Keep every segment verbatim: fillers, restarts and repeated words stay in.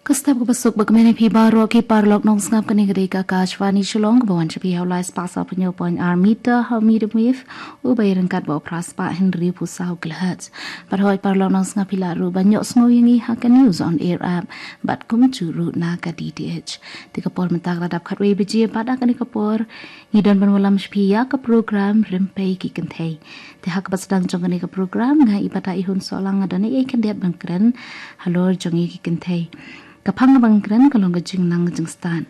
Ka step kaba suk ba kmen ïa phi baroh ki paralok nongsngap, kane ka dei ka Akashvani Shillong kaba wan sha phi ha u lai spah saw phew hynñiew point ar meter ha u medium wave uba ïaryngkat bad u phra spah hynriew phew saw kilohertz. Bad hooid paralok nongsngap, phi lah ruh ban ïohsngew ïa ngi ha ka News on Air app bad kumjuh ruh na ka D T H. Te ka por mynta ka la dap khatwei baje bad ha kane ka por ngi don ban wallam sha phi ïa ka program Rympei ki Kynthei. Te ha kaba sdang jong kane ka program nga i Pata Ihun Sohlang nga don ei ei khyndiat ban kren halor jong ngi ki kynthei. Ka phang kaba ngan kren ka long ka jingnang jingstad.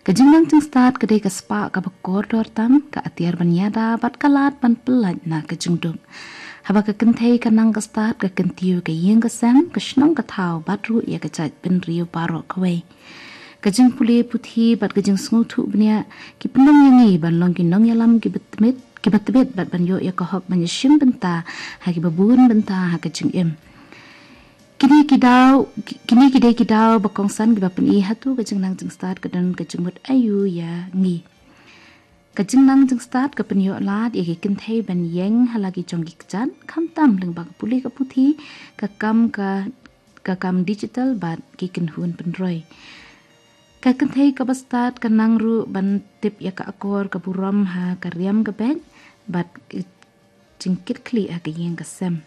Ka jingnang jingstad ka dei ka spah kaba kordor tam, ka atiar ban ïada bad ka lad ban pyllait na ka jingduk. Haba ka kynthei ka nang ka stad, ka kyntiew ka ïing ka sem, ka shnong ka thaw bad ruh ïa ka jaitbynriew baroh kawei. Ka jingpule puthi bad ka jingsngewthuh bniah ki pynlong ïa ngi ban long ki nongïalam kiba tbit, kiba tbit bad ban ïoh ïa ka hok ban ïashim bynta ha kiba bun bynta ha ka jingim. Kine ki daw, ki-, kine ki dei ki daw ba kongsan kiba pyni hato ka jingnang jingstad ka don ka jingmut aïu ïa ngi. Ka jingnang jingstad ka pynïoh lad ïa ki kynthei ban ïeng ha la ki jong ki kjat, khamtam lyngba ka pule ka puthi, ka kam ka, ka kam digital bad ki kynhun pynroi. Ka kynthei kaba stad ka nang ruh ban tip ïa ka akor ka burom ha ka riam ka beit bad ka jingkitkhlieh ha ka ïing ka sem,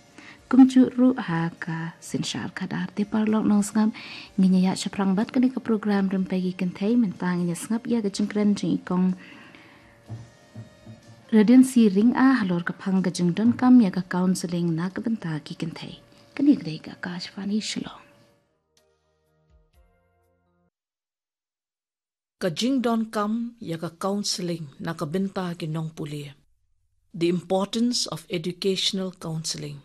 kumjuh ruh ha ka synshar khadar. Te paralok nongsngap, ngin ïa ïaid shaphrang bad kane ka program Rympei ki Kynthei. Mynta ngin ïa sngap ïa ka jingkren jong i Kong Radiancy Rynga halor ka phang ka jingdonkam ïa ka counselling na ka bynta ki kynthei. Kane ka dei ka Akashvani Shillong. Ka jingdonkam ïa ka counselling na ka bynta ki nongpule. The importance of educational counselling.